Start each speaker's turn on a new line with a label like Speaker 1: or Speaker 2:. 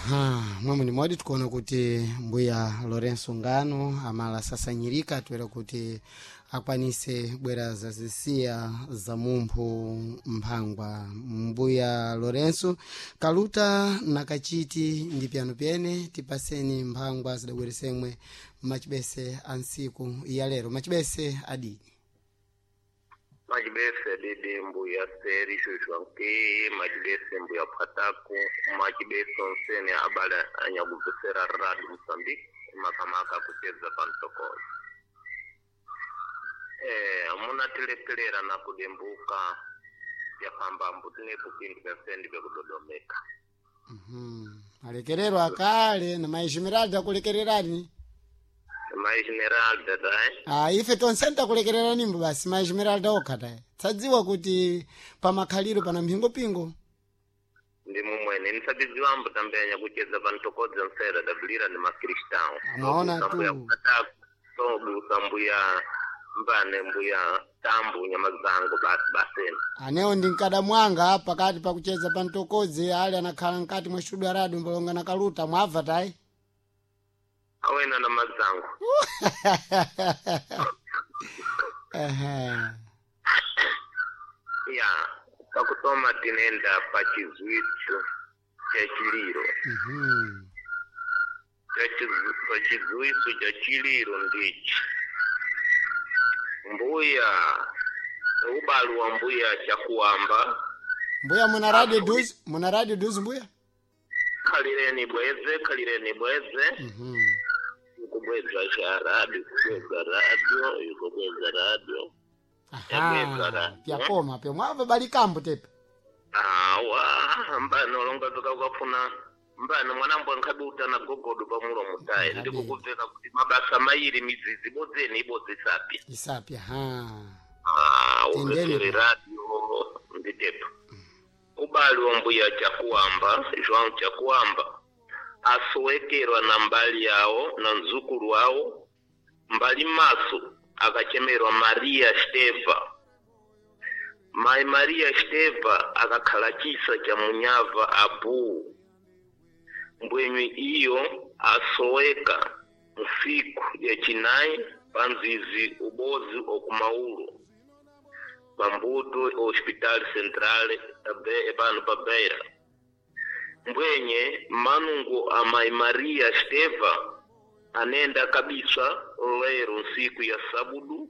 Speaker 1: Aha, mwamwe ni modi tikuona kuti mbuya Lorenzo Ngano amala sasanyirika toera kuti akwanise bwera zazisiya za mumphu mphangwa. Mbuya Lorenzo kaluta na kachiti ndi pyano pyene tipaseni mphangwa zidabweresemwe machibese a ntsiku ya lero. Machibese adini?
Speaker 2: Machibese didi mbuya seri shushwanke, machibese mbuya phataku, machibese onsene abale anyakubvesera radu Mosambiki makamaka kucheza pamtokozo. Munatilekelera na kudembuka yakamba mbuti pindu vyansendi vyekudodomeka.
Speaker 1: Alekerero akale na maishimiradi akulekererani.
Speaker 2: Maishimeralda tae.
Speaker 1: Ah, ife tonse ntakulekereranimbo basi maishimiralda okha tayi tsadziwa kuti pamakhaliro pana mphingopingo.
Speaker 2: Ndi mumwene nisabiziwambo tambenya kucheza pantokodza nsera dabulira ni makristão.
Speaker 1: Amaona
Speaker 2: Tobusa mbuya
Speaker 1: tu.
Speaker 2: Phataku, tobusa mbuya mbane mbuya tambu nyama zangu basi baseni.
Speaker 1: Anewo ndi mkada mwanga pakati pakucheza pa mtokodzi ali anakhala mkati mwa studio radio mbolonga na kaluta mwabva tayi.
Speaker 2: Awena na mazangu.
Speaker 1: Ehe.
Speaker 2: Ya pakutoma tinenda pa chizwitso cha chiliro. Pa chizwitso cha chiliro ndichi mbuya ubalu wa mbuya chakuamba.
Speaker 1: Mbuya muna radio duzi, muna radio duzi mbuya.
Speaker 2: Khalireni bweze, khalireni bweze. Ikubweza cha radio, ikubweza radio, ikubweza radio.
Speaker 1: Aha, pyakoma pyo mwabva balikambo tepe.
Speaker 2: Awa mbano longa tukakafuna mbano mwanambo nkhabi utana gogodo pamulomo tayi.
Speaker 1: Nkhabi.
Speaker 2: Ndikukubveka kuti mabasa mairi mizizi bodzeni ibodzi isapi.
Speaker 1: Isapi ha.
Speaker 2: Ah,
Speaker 1: Tendeni.
Speaker 2: ubvesere radio nditepo ubali wa mbuya chakuamba João Chakuamba asowekerwa na mbali yawo na mzukulu wawo mbali maso akachemerwa Maria Steva. Mai Maria Steva akakhala chisa cha munyava abu mbwenywi iyo asoweka nsiku yachinayi panzizi ubozi okumaulo pambuto hospital central pano pa Beira. Mbwenye manungo a Mai Maria Steva anenda kabisa lero nsiku ya sabudu.